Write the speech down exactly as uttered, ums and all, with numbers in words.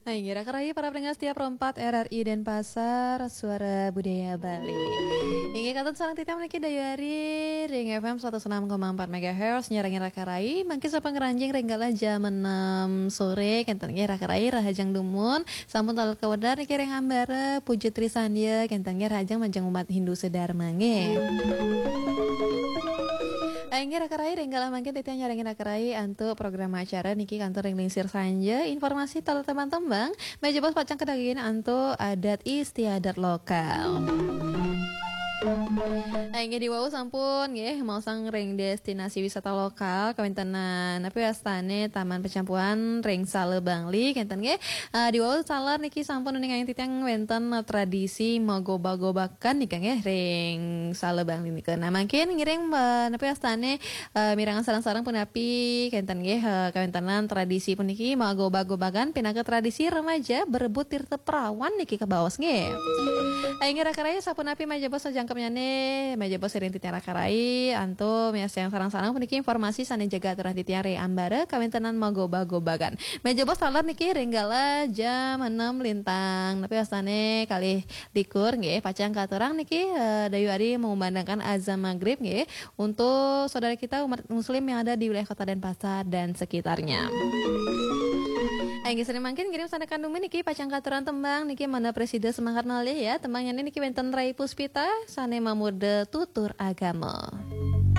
Nah, inggih raka rayi para pendengar setia Pro empat R R I Denpasar, Suara Budaya Bali. Inggih kantun sareng titiang niki dayuh ari ring F M seratus enam koma empat megahertz, nyarengin raka rayi, mangkin sampun ngranjing ring galah jam enam sore, kenten nggih raka rayi, rahajeng dumun, sampun taler kawedar niki ring ambara Puja Trisandya, kenten nggih rahajeng majeng umat Hindu sedharma nggih. Inggih raka rayi, ring galah mangkin titiang nyarengin raka rayi antuk program acara niki kantun ring lingsir sanja, informasi taler tembang-tembang, meja bos pacang kadagingin antuk adat istiadat lokal. Nah, inggih diwau sampun nggih maosang ring destinasi wisata lokal kawentenan napi wastane Taman Pecampuan ring Sala Bangli kenten nggih. Ah, diwau taler niki sampun uning ayang titiang wenten, eh, tradisi magoba-gobakan nika nggih ring Sala Bangli nika. Nah, mangkin ngiring, eh, napi wastane, eh, mirengang sareng-sareng punapi kenten nggih, eh, kawentenan tradisi puniki magoba-gobakan pinaka tradisi remaja berebut tirta perawan niki kabaos nggih. Inggih raka rayi sapunapi meja bos sajangkepnyane, meja bos ring titiang raka rayi antuk miarsayang sareng-sareng puniki informasi sane jaga aturan titiang ring ambara kawentenan magoba-gobakan. Meja bos taler niki ring galah jam enam lintang. Napi wastane kalih likur nggih, pacang katurang niki, eh, dayuh ari mengumandangkan azan maghrib nggih untuk saudara kita umat muslim yang ada di wilayah Kota Denpasar dan sekitarnya. Inggih sane mangkin ngiring sane kandungan niki pacang katurang tembang niki mangda prasida semangat malih ya. Tembangnyane niki wenten Rai Puspita sane mamurda Tutur Agama.